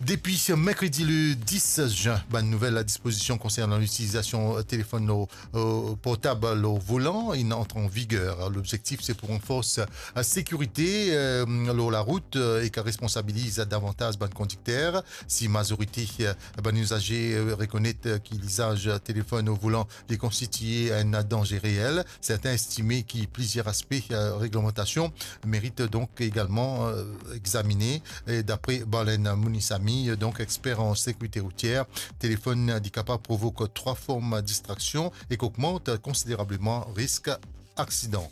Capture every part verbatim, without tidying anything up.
Depi merkredi le dis zin, bann nouvel dispozision konsernan litilizasion telefonn lor, eh, portab lor volan inn antre an viger. Lobzektif se pou ranfors, eh, sekirite, eh, lor larout, eh, ek responsabiliz davantaz bann kondikter. Si mazorite, eh, bann izaze, eh, rekonet, eh, ki lizaz telefonn o volan li konstitie enn danze reel, sertin estime ki plizier aspe, eh, reglemantasion merit donk egalman, eh, examine. E dapre Barlen Monisami, donk exper an sekirite routier, telefonn li kapav provok trwa form distraksion ek ogmant konsiderableman risk aksidan.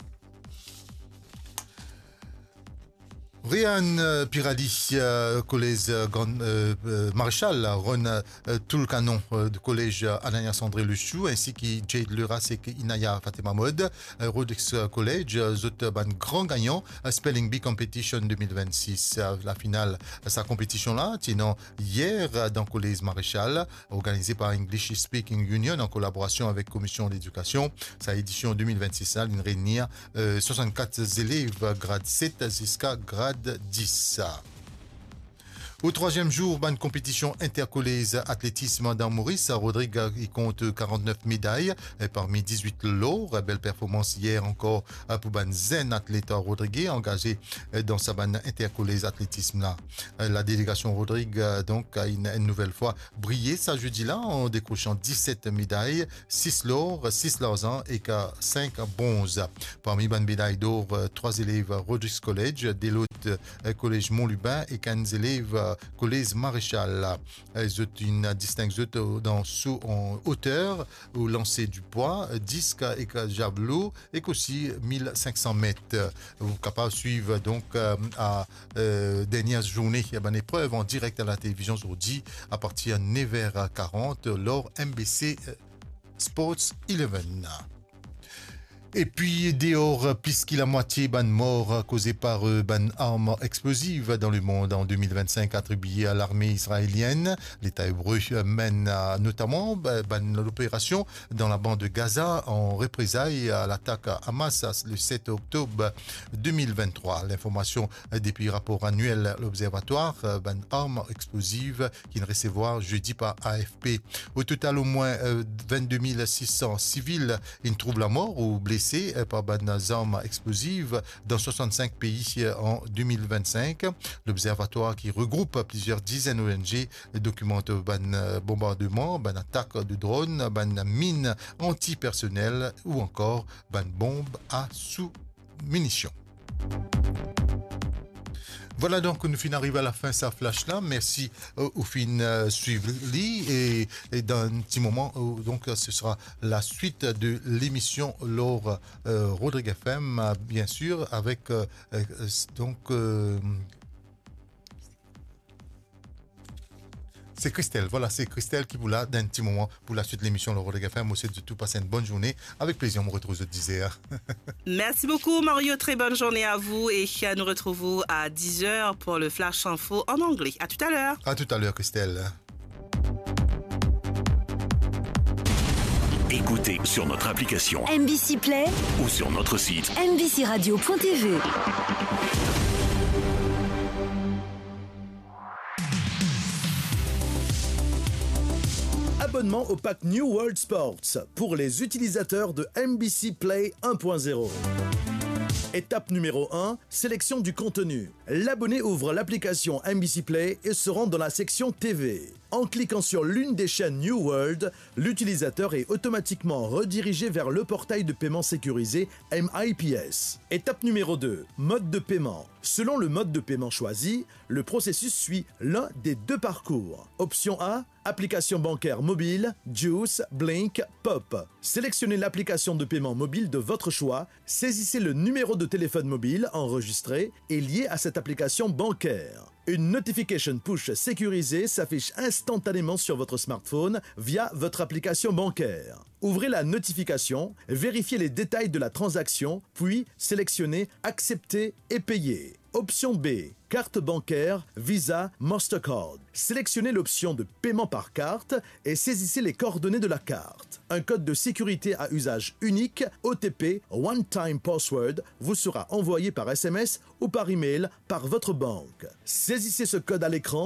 Rehan, eh, Pirali, eh, kolez, eh, Gran, eh, eh, Marechal, Ron, eh, Toulkanon, eh, de kolez, eh, Ananias André Lechou, ensi ki Jade Leras ek Inaya Fatima Mode, eh, Rodrigues, eh, College, eh, zot, eh, bann gran gagnan, eh, Spelling Bee Competition de mil vennsis. Eh, lafinal, eh, sa konpetision la, ti ena yer, eh, dan kolez Marechal, organize par English Speaking Union an kolaborasion avek Komisyon Ledikasion. Sa edision de mil vennsis la, linn reini, eh, swasannkat zelev grad set ziska grad dis. O trwaziem zour bann konpetision interkolez atletism dan Moris, Rodrig, eh, i kont karantnef meday, eh, parmi dizwit lor. Bel performans yer ankor, eh, pou bann zenn atlet rodrige angaze, eh, dan sa bann interkolez atletism la. Eh, la delegasion Rodrig, eh, donk, a enn, enn nouvel fwa briye sa zedi la an dekrosan diset meday, sis lor, sis larzan ek sink bronz. Parmi bann meday dor, eh, trwa zelev Rodrigues College, de lot, eh, kolez Mont Lubin ek enn zelev, eh, kolez Marechal. Eh, zot inn disteng zot, eh, dan so an oter, o lanse di pwa, eh, disk ek javelo, ek osi mil sink san met. Ou kapav swiv donk, eh, a, eh, dernie zourne, eh, bann eprev an direk a la televizion zordi apartir nev er karant lor M B C, eh, Sports Eleven. Epi deor, plis ki lamwatie bann mor koze par, eh, bann arm exploziv dan lemond an de mil vennsink atribie a larme izraelienn. Leta ebre, eh, menn, eh, notaman, eh, bann loperasion dan labann Gaza an reprezay a latak Hamas le set oktob de mil venntrwa. Linformasion, eh, depi rapor aniel Lobzervatwar, eh, bann arm exploziv ki'nn resevwar zedi par A F P. O total, omwin, eh, vennde mil sis san sivil inn trouv lamor ou blese, eh, par bann zarm exploziv dan swasannsink pei, eh, an de mil vennsink. Lobzervatwar ki regroup plizier dizenn O N G dokimant bann, eh, bonbardeman, bann atak de dronn, bann min antipersonel ou ankor bann bonb a sou minision. Vwala, donk nou finn ariv a lafin sa flash la. Mersi, eh, ou finn, eh, swiv li e, e dan enn ti moman, eh, donk, eh, ce sera la suite de l'émission lor, eh, Rodrigues F M, eh, bien sûr, avec, eh, eh, donc, eh, c'est Christelle. Voilà, c'est Christelle ki pou la dan enn ti moman pou la suite de l'émission lor Rodrigues F M. Mo swet zot tou pas enn bonn zourne. Avek plezir, mo retrouv zot diz er. Merci beaucoup, Mario. Très bonne journée à vous et nous retrouvons à dix heures pour le Flash Info en anglais. À tout à l'heure. À tout à l'heure, Christelle. Écoutez sur notre application M B C Play ou sur notre site M B C radio point T V. Abonnement au pack New World Sports pour les utilisateurs de M B C Play un point zéro. Étape numéro un, sélection du contenu. L'abonné ouvre l'application M B C Play et se rend dans la section T V. En cliquant sur l'une des chaînes New World, l'utilisateur est automatiquement redirigé vers le portail de paiement sécurisé M I P S. Étape numéro deux, mode de paiement. Selon le mode de paiement choisi, le processus suit l'un des deux parcours. Option A, application bancaire mobile, Juice, Blink, Pop. Sélectionnez l'application de paiement mobile de votre choix, saisissez le numéro de téléphone mobile enregistré et lié à cette application bancaire. Une notification push sécurisée s'affiche instantanément sur votre smartphone via votre application bancaire. Ouvrez la notification, vérifiez les détails de la transaction, puis sélectionnez Accepter et payer. Option B, carte bancaire, Visa, Mastercard. Sélectionnez l'option de paiement par carte et saisissez les coordonnées de la carte. Un code de sécurité à usage unique, O T P, One Time Password, vous sera envoyé par S M S ou par email par votre banque. Saisissez ce code à l'écran